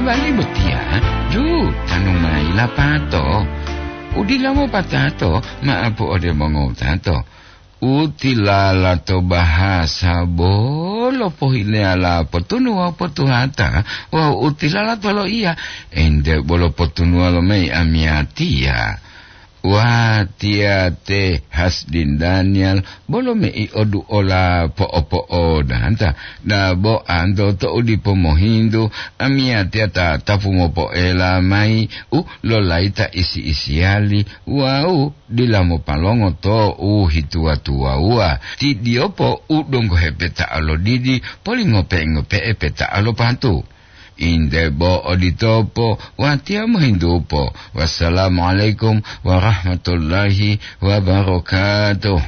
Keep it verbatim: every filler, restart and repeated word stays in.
Pali botiya, ju, tanu mayi lapato. Udila mopatato, maapu ode mongowutato. Utilala to bahasa bolo pohileyala potunuwa potuhata, wawu utilala to loiya, ente bolo potunuwa lo mayi amiyatiya. Watiya te Hasdin Daniel, bolo mei oduola po'opo'odanta, dabo anto to'u dipo mohintu, amiyatiya ta tapu mopoela mayi u lolayi ta isi-isiyali wawu dila mopalongo to u hituwa-tuwawuwa. Ti diyopo u donggo hepeta'a lo didi, polingope-ngope'e peta'a lo patu. Inde bo oditopo, watiya mohintupo. Wassalamualaikum warahmatullahi wabarakatuh.